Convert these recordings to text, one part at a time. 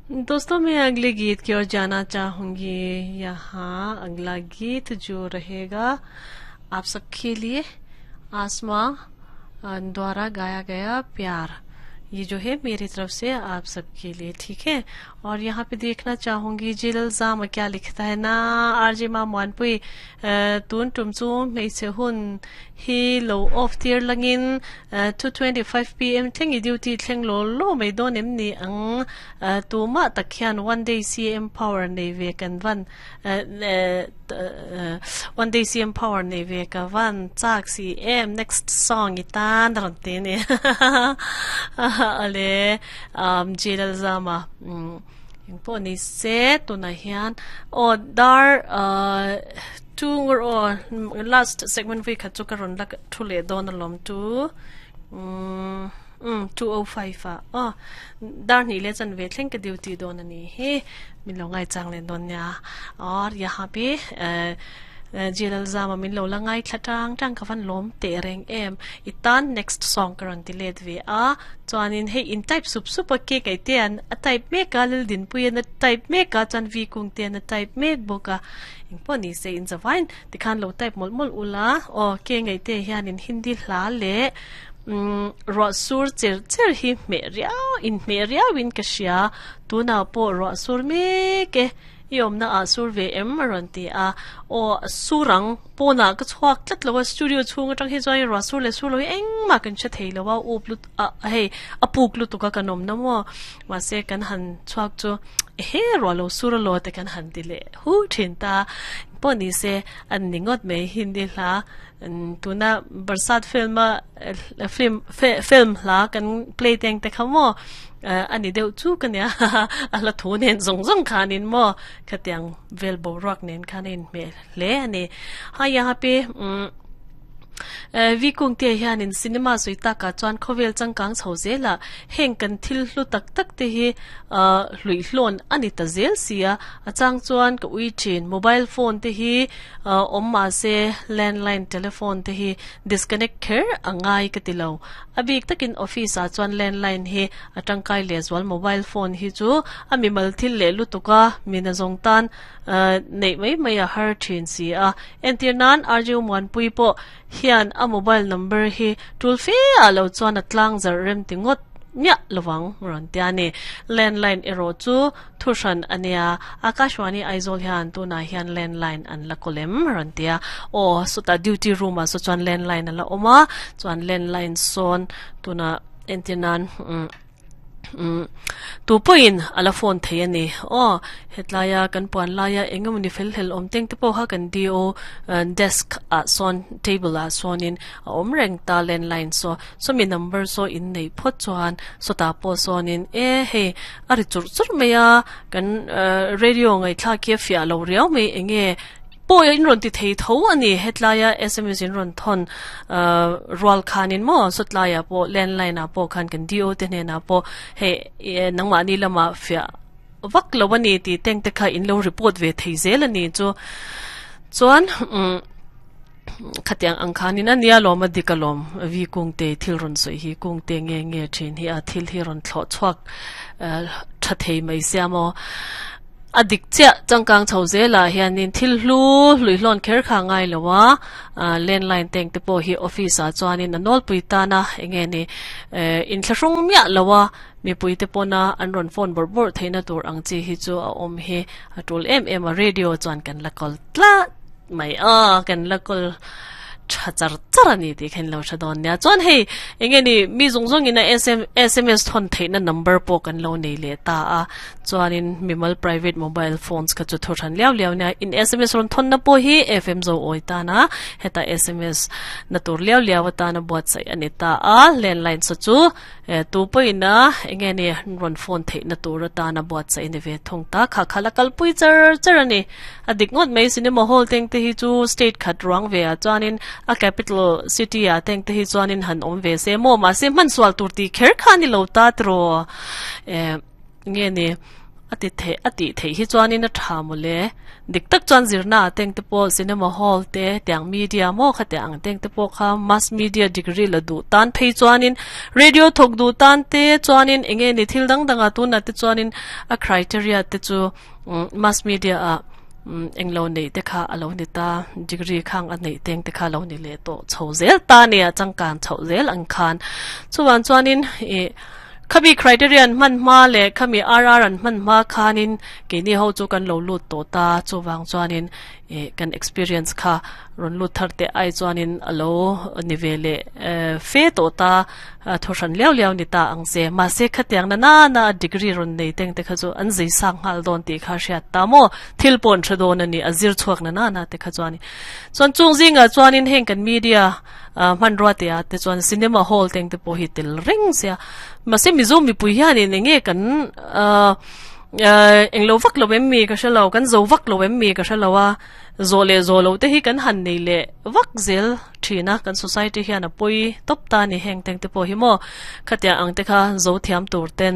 दोस्तों, मैं अगले गीत की ओर जाना चाहूंगी। यहाँ अगला गीत जो रहेगा आप सबके लिए, आसमां द्वारा गाया गया प्यार, ये जो है मेरी तरफ से आप सबके लिए, ठीक है। और यहाँ पे देखना चाहूंगी जिल जाम क्या लिखता है ना। आरजे मा मुआनपुई तुन टुमचू मेसे हुन hi lo off tier langin 2:25 p.m. thleng i duty thleng lo lo mai dawn em ni ang. Tu ma tak hian one day CM power nei ve kan van, one day CM power nei ve ka van chak si em, next song i tan ron te ni ale jilal zama. Eng pawh ni se, tunah hian aw dar two ngur aw last segment vui khat chu ka rawn la thu leh dawn alawm chu um 2:05 ah aw dar hnih leh chanve thleng ka duty dawn a ni hi, min lo ngai chang leh dawn nia. Aw yaha pi Jilal Zama min lo la ngai thla tang tang ka van lawm teh reng em. I tan next song ka rawn ti let ve a, chuanin hei in type sup sup a cake ai te an a type mek a, Lildinpuii an a type mek a, chuan V Kung te an a type mek bawk a, engpawh ni se in zavain tikhan lo type mawlh mawlh ula aw. Ke ngei te hianin Hindi hla leh umm ruah sur cher cher hi hmeh riau inhmeh riauin ka hria, tunah pawh ruah sur mek e. I awmna ah sur ve em? A rawn ti a. Aw, sur ang. Pawnah ka chhuak tlat lo a, studio chhung atang hi chuan i ruah sur leh sur lo hi engmah kan hre thei lo a, up lut a hei a puk lutuk a kan awmna maw. Mahse kan han chhuak chu ehe ruah lo sur a lo te kan han ti leh hu thin ta. Pawh ni se an ni ngawt mai Hindi hla tuna Barsat film a film film hla kan play teng te kha maw. A ni deuh chu ka nia a hla thu nen zawng zawng khanin maw khatiang vel boruak nen khan a inhmeh hle a ni. Hai a pi Vi Kungte hianin cinema sawi takah chuan khawvel changkang chho zelah heng kan thil hlu tak tak te hi hluihlawn a ni ta zel si a, a chang chuan ka ui thin. Mobile phone te hi awm mahse landline telephone te hi disconnect kher a ngai ka ti lo. A bik takin office ah chuan landline hi a tangkai lehzual mobile phone hi chu a mimal thil leh lutuk a, mina zawng tan neih mai mai a har thin si a. Entir nan RJ Muanpui pawh hian a mobile number hi tul fe ah lo chuan a tlang zarh rem ti ngawt miah lovang rawn tia a ni. Landline erawh chu Thu hran a nia, Akashvani Aizawl hian tunah hian landline an la kawl em? A rawn ti a. Aw, sawtah duty room ah saw chuan landline a la awm a, chuan landline sawn tunah entir nan umm umm tu pawhin a la phone thei a ni. Aw, hetlaia kan puan laia eng emawni fel hlel awm teng te pawh kha kan DO desk ah sawn table ah sawnin a awm reng ta landline saw. Sawmi number saw in neih phawt chuan sawtah pawh sawnin e hei a ri churh churh mai a, kan radio ngaihthlak hi a fiah lo riau mai enge pawh in rawn ti thei tho a ni hetlaia sms in rawn thawn rual khanin maw sawtlaiah pawh landline ah pawh khan kan DO te hnenah pawh hei nangmahni lamah fiah vak lo a ni tih teng te kha in lo report ve thei zel a ni chu chuan umm. Khatiang ang khanin a nia lawm a dik alawm Vi Kungte thil rawn sawi hi Kungte nge nge thin hi a thil hi rawn thlawh chhuak tha thei mai sia maw a dik chiah changkang chho zelah hianin thil hlu hluihlawn kher kha ngai lo a landline tank te pawh hi office ah chuanin a nawlpui tan a enge ni inthlahrung miah lo a mipui te pawna an rawn phone bawrh bawrh theihna tur ang chi hi chu a awm hi a tul em em a radio chuan kan la kawl tlat Mai a, kan la kawl tha char char a ni tih kha in lo hre dawn nia. Chuan hei eng nge ni mi zawng zawng in a sms thawn theihna number pawh kan lo nei leh ta a. Chuanin mimal private mobile phones kha chu thu hran liau liau nia. In sms rawn thawnna pawh hi FM zo awi tana heta sms na tur liau liau atana buatsaih a ni ta a. Landline saw chu Tu pawhin a enge ni rawn phone theihna tur atana buatsaih a ni ve thung ta. Kha kha la kalpui char char a ni. A dik ngawt mai cinema hall teng te hi chu state khat ruang ve ah chuanin a capital city ah teng te hi chuanin han awm ve se maw mahse hmansual tur tih kher kha a ni lo ta tiraw. Enge ni. A ti theih a tih theih hi chuanin a tha mawle. Dik tak chuan zirna ah teng te pawh cinema hall te tiang media maw kha tiang ang teng te pawh kha mass media degree la duh tan phei chuanin radio thawk duh tan te chuanin eng nge ni thil dang dang ah tunah te chuanin a criteria te chu mass media ah englo neih te kha a lo ni ta degree khang a neih teng te kha a lo ni leh tawh chho zel ta a nia changkan chhoh zel ang khan chuvang chuanin ih. Khami criteria an hman hma leh khami RR an hman hma khanin keini ho chu kan lo lut tawh ta, chuvang chuanin ih kan experience kha rawn lut thar teh ai chuanin a lo ni ve leh fe tawh ta, thaw hran liau liau ni ta ang che. Mahse khatiang na nana a degree rawn nei teng te kha chu an zei sang nghal dawn tih kha hriat ta maw? Thil pawh an hre dawn a ni, a zir chhuak na nana te kha chuanin. Chuan chung zingah chuanin heng kan media Hmanrua te ah te chuan cinema hall te ang te pawh hi tel reng sia mahse Mizo mipui hianin eng nge kan ahh englo vak lo em mi ka hre lo kan zo vak lo em mi ka hre lo a zawh leh zawh loh te hi kan han nei leh vak zel thin a kan society hian a pawi tawp ta a ni heng teng te pawh hi maw khatiang ang te kha zo thiam tur ten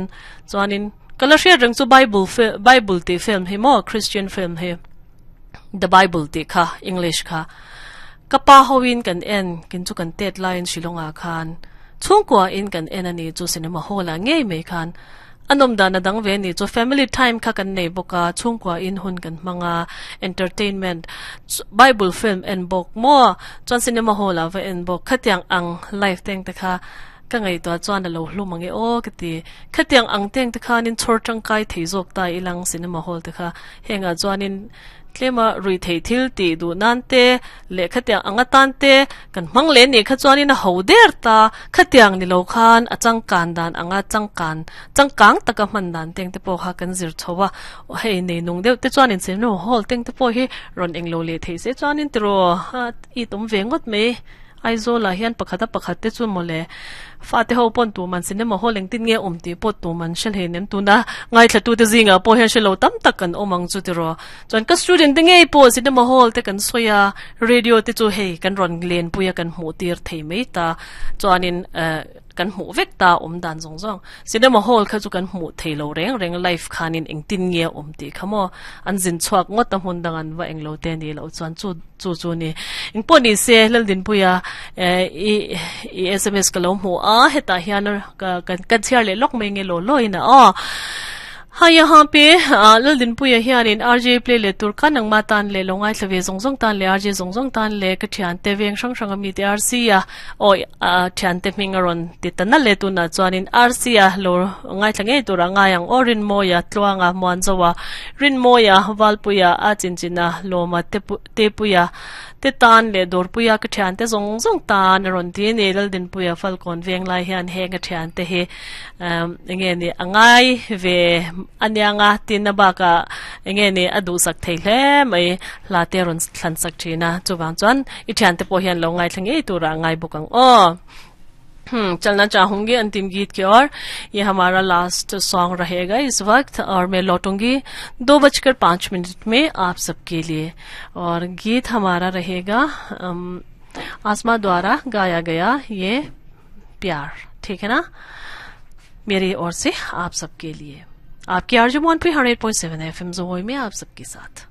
chuanin ka la hriat reng chu bible bible tih film hi maw christian film hi. The Bible tih kha English kha ka pa hoin kan en kin chu kan tet laiin Shillong ah khan chhungkua in kan en a ni chu cinema hall ah ngei mai khan a nawm dan a dang ve a ni chu family time kha kan nei bawk a chhungkua in hun kan hmang a entertainment Bible film en bawk maw chuan cinema hall ah va en bawk khatiang ang life teng te kha Ka ngaihtuah chuan a lo hlum ang e aw ka ti. Khatiang ang teng te khanin chhawr tangkai thei zawk ta ilang cinema hall te kha. Hengah chuanin tlema rui theih thil tih duh nan te leh khatiang ang atan te kan hmang leh nih kha chuanin a ho der ta. Khatiang ni lo khan a changkan dan anga changkan changkang taka hman dan teng te pawh kha kan zir chho a. Hei nei nung deuh te chuanin cinema hall teng te pawh hi rawn englo leh theih se chuanin tiraw i tum ve ngawt mai. Aizawl ah hian pakhat a pakhat te chu mawle fate ho pawn tuman cinema hall engtin nge awm tih pawh tuman hre hlei nem tuna ngaithla tu te zingah pawh hian hrelo tam tak kan awm ang chu tiraw chuan ka student te ngei pawh cinema hall te kan sawi a radio te chu hei kan rawn lenpui a kan hmuh tir thei mai ta chuanin eh kan hmuh vek ta awm dan zawng zawng cinema hall kha chu kan hmuh thei lo reng reng live khanin engtin nge awm tih kha maw an zin chhuak ngawt a hmun dang an va englo te ni loh chuan chu Chu chu ni. Engpawh ni se Laldinpuia i i sms ka lo hmu a hetah hian ka kan chhiar leh lawk mai nge law law in a aw. Ha yahan pe Laldinpuia hianin RJ play leh tur kha nangma tan leh lo ngaithla ve zawng zawng tan leh RJ zawng zawng tan leh ka thiante veng hrang hrang ami te RC a aw thiante hming a rawn ti ta nalh e tunah chuanin RC a lo ngaithla ngei turah ngai ang aw Rinmawia Tluanga Muanzoa Rinmawia Valpuia a chinchina Lawma te Tepuia te tan leh Dawrpuia ka thiante zawng zawng tan a rawn ti a ni. Laldinpuia Falkawn veng lai hian heng a thiante hi eng nge ni a ngai ve a niang a tin a bakah eng nge ni a duhsak thei hle mai hla te a rawn thlan sak thin a chuvang chuan i thiante pawh hian lo ngaithla ngei turah a ngai bawk ang aw. हम्म चलना चाहूंगी अंतिम गीत की ओर ये हमारा last song रहेगा इस वक्त और मैं लौटूंगी 2:05 में आप सबके लिए और गीत हमारा रहेगा आसमा द्वारा गाया गया ये प्यार ठीक है ना मेरी ओर से आप सबके लिए आपकी आरजू मोहन पे 100.7 एफएम जोई में आप सबके साथ।